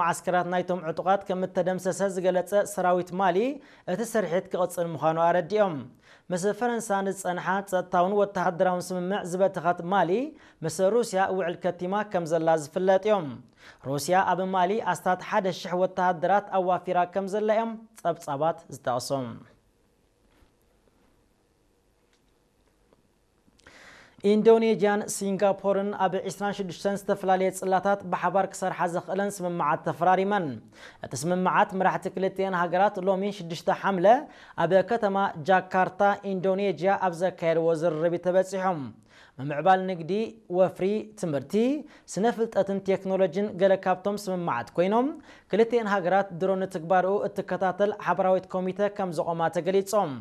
መዓስከራት ናይቶም ዕጡቓት ከም እተደምሰሰ ዝገለጸ ሰራዊት ማሊ፣ እቲ ስርሒት ክቕጽል ምዃኑ ኣረዲኦም። ምስ ፈረንሳ ንዝጸንሓ ጸጥታውን ወተሃደራውን ስምምዕ ዝበተኸት ማሊ፣ ምስ ሩስያ ውዕል ከቲማ ከም ዘላ ዝፍለጥ እዮም። ሩስያ ኣብ ማሊ ኣስታት ሓደ ሽሕ ወተሃደራት ኣዋፊራ ከም ዘላ እዮም ጸብጻባት ዝጠቕሱ። ኢንዶኔዥያን ሲንጋፖርን ኣብ ዕስራን ሽዱሽተን ዝተፈላለየ ጽላታት ብሓባር ክሰርሓ ዘኽእለን ስምምዓት ተፈራሪመን። እቲ ስምምዓት መራሕቲ ክልቲኤን ሃገራት ሎሚ ሽዱሽተ ሓምለ ኣብ ከተማ ጃካርታ ኢንዶኔዥያ ኣብ ዘካየድዎ ዝርርብ እዩ ተበጺሖም። ምምዕባል ንግዲ፣ ወፍሪ፣ ትምህርቲ፣ ስነ ፍልጠትን ቴክኖሎጂን ገለ ካብቶም ስምምዓት ኮይኖም፣ ክልቲኤን ሃገራት ድሮ ንትግባርኡ እትከታተል ሓበራዊት ኮሚተ ከም ዘቖማ ተገሊጾም።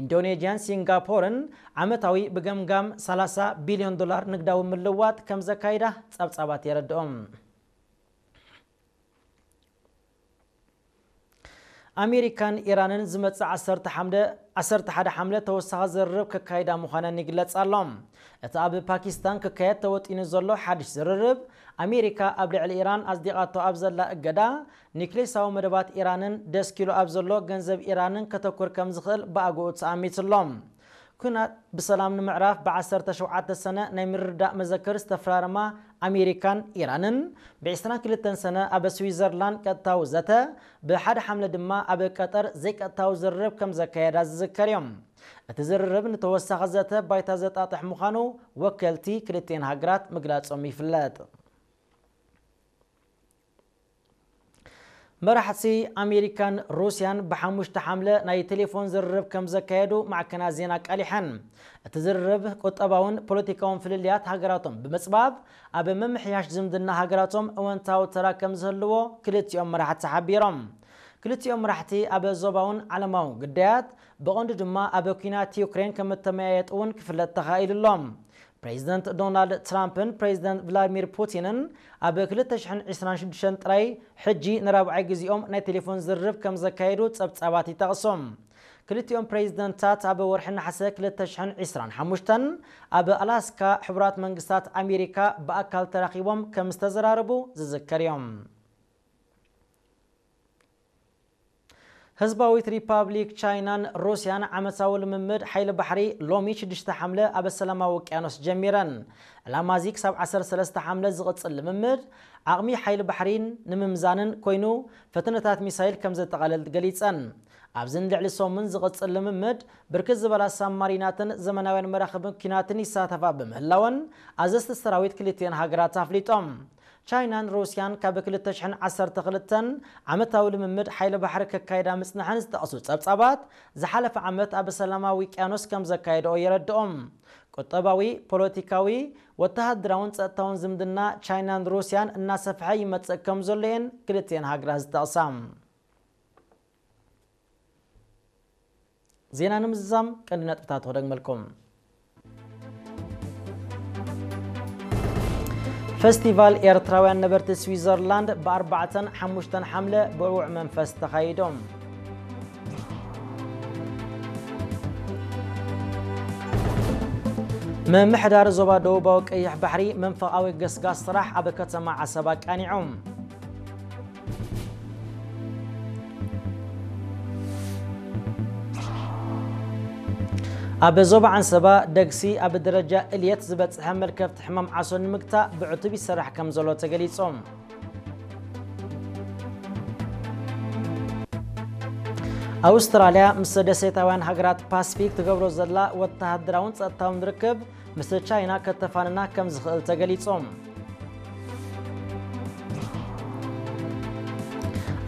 ኢንዶኔዥያን ሲንጋፖርን ዓመታዊ ብገምጋም ሰላሳ ቢልዮን ዶላር ንግዳዊ ምልዋጥ ከም ዘካይዳ ጸብጻባት የረድኦም። ኣሜሪካን ኢራንን ዝመጽእ ዓሰርተ ሓምለ ዓሰርተ ሓደ ሓምለ ተወሳኺ ዝርርብ ከካይዳ ምዃነን ይግለጽ ኣሎ። እቲ ኣብ ፓኪስታን ክካየድ ተወጢኑ ዘሎ ሓድሽ ዝርርብ፣ ኣሜሪካ ኣብ ልዕሊ ኢራን ኣጽዲቓቶ ኣብ ዘላ እገዳ፣ ኒክሌሳዊ መደባት ኢራንን ደስኪሉ ኣብ ዘሎ ገንዘብ ኢራንን ከተኩር ከም ዝኽእል ብኣግኡ ተኣሚቱ ኣሎ። ኲናት ብሰላም ንምዕራፍ ብዓሰርተ ሸውዓተ ሰነ ናይ ምርድዳእ መዘክር ዝተፈራረማ ኣሜሪካን ኢራንን፣ ብዕስራን ክልተን ሰነ ኣብ ስዊዘርላንድ ቀጥታዊ ዘተ፣ ብሓደ ሓምለ ድማ ኣብ ቀጠር ዘይቀጥታዊ ዝርርብ ከም ዘካየዳ ዝዝከር እዮም። እቲ ዝርርብ ንተወሳኺ ዘተ ባይታ ዘጣጥሕ ምዃኑ ወከልቲ ክልቲኤን ሃገራት ምግላጾም ይፍለጥ። መራሕቲ ኣሜሪካን ሩስያን ብሓሙሽተ ሓምለ ናይ ቴሌፎን ዝርርብ ከም ዘካየዱ ማዕከናት ዜና ኣቃሊሐን። እቲ ዝርርብ ቁጠባውን ፖለቲካውን ፍልልያት ሃገራቶም ብምጽባብ፣ ኣብ ምምሕያሽ ዝምድና ሃገራቶም እወንታዊ ተራ ከም ዝህልዎ ክልቲኦም መራሕቲ ሓቢሮም። ክልቲኦም መራሕቲ ኣብ ዞባውን ዓለማውን ግዳያት፣ ብቐንዱ ድማ ኣብ ኲናት ዩክሬን ከም እተመያየጡ እውን ክፍለጥ ተኻኢሉ ኣሎ። ፕሬዚደንት ዶናልድ ትራምፕን ፕሬዚደንት ቭላዲሚር ፑቲንን ኣብ ክልተ ሽሕን ዕስራን ሽዱሽተን ጥራይ ሕጂ ንራብዓይ ግዜኦም ናይ ቴሌፎን ዝርርብ ከም ዘካየዱ ጸብጻባት ይጠቕሱ። ክልቲኦም ፕሬዚደንታት ኣብ ወርሒ ነሓሰ ክልተ ሽሕን ዕስራን ሓሙሽተን ኣብ ኣላስካ ሕቡራት መንግስታት ኣሜሪካ ብኣካል ተራኺቦም ከም ዝተዘራረቡ ዝዝከር እዮም። ህዝባዊት ሪፓብሊክ ቻይናን ሩስያን ዓመታዊ ልምምድ ሓይሊ ባሕሪ ሎሚ ሽዱሽተ ሓምለ ኣብ ሰላማዊ ውቅያኖስ ጀሚረን። ዕላማ እዚ ክሳብ ዓሰርተ ሰለስተ ሓምለ ዝቕጽል ልምምድ ዓቕሚ ሓይሊ ባሕሪን ንምምዛንን ኮይኑ፣ ፈተነታት ሚሳይል ከም ዘጠቓልል ገሊጸን። ኣብዚ ንልዕሊ ሰሙን ዝቕጽል ልምምድ ብርክት ዝበላ ሳብማሪናትን ዘመናውያን መራኽብን ኲናትን ይሳተፋ ብምህላወን፣ ኣዘዝቲ ሰራዊት ክልቲኤን ሃገራት ኣፍሊጦም። ቻይናን ሩስያን ካብ ክልተ ሽሕን ዓሰርተ ክልተን ዓመታዊ ልምምድ ሓይሊ ባሕሪ ከካይዳ ምጽንሐን ዝጠቕሱ ጸብጻባት፣ ዝሓለፈ ዓመት ኣብ ሰላማዊ ውቅያኖስ ከም ዘካየድኦ የረድኦም። ቁጠባዊ፣ ፖለቲካዊ፣ ወተሃደራውን ጸጥታውን ዝምድና ቻይናን ሩስያን እናሰፍሐ ይመጽእ ከም ዘሎ እየን ክልቲኤን ሃገራት ዝጠቕሳ። ዜና ንምዝዛም ቀንዲ ነጥብታት ክደግመልኩም። ፈስቲቫል ኤርትራውያን ነበርቲ ስዊዘርላንድ ብኣርባዕተን ሓሙሽተን ሓምለ ብዕዉዕ መንፈስ ተኻይዶም። ምምሕዳር ዞባ ደቡባዊ ቀይሕ ባሕሪ መንፈቓዊ ገስጋስ ስራሕ ኣብ ከተማ ዓሰብ ኣቃኒዖም። ኣብ ዞባ ዓንሰባ ደግሲ ኣብ ደረጃ እልየት ዝበጽሐ መልከፍቲ ሕማም ዓሶ ንምግታእ ብዕቱብ ይሰራሕ ከም ዘሎ ተገሊጹ። ኣውስትራልያ ምስ ደሴታውያን ሃገራት ፓስፊክ ትገብሮ ዘላ ወተሃደራውን ጸጥታውን ርክብ ምስ ቻይና ከተፋንና ከም ዝኽእል ተገሊጹ።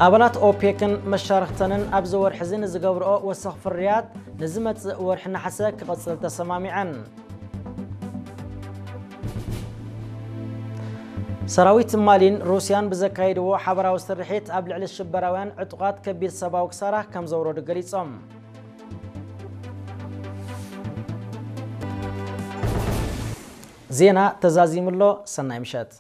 ኣባላት ኦፔክን መሻርኽተንን ኣብዚ ወርሒ እዚ ንዝገብርኦ ወሰኽ ፍርያት ንዝመጽእ ወርሒ ነሓሰ ክቕጽል ተሰማሚዐን። ሰራዊት ማሊን ሩስያን ብዘካየድዎ ሓበራዊ ስርሒት ኣብ ልዕሊ ሽበራውያን ዕጡቓት ከቢድ ሰብኣዊ ክሳራ ከም ዘውረዱ ገሊጾም። ዜና ተዛዚሙ ኣሎ። ሰናይ ምሸት።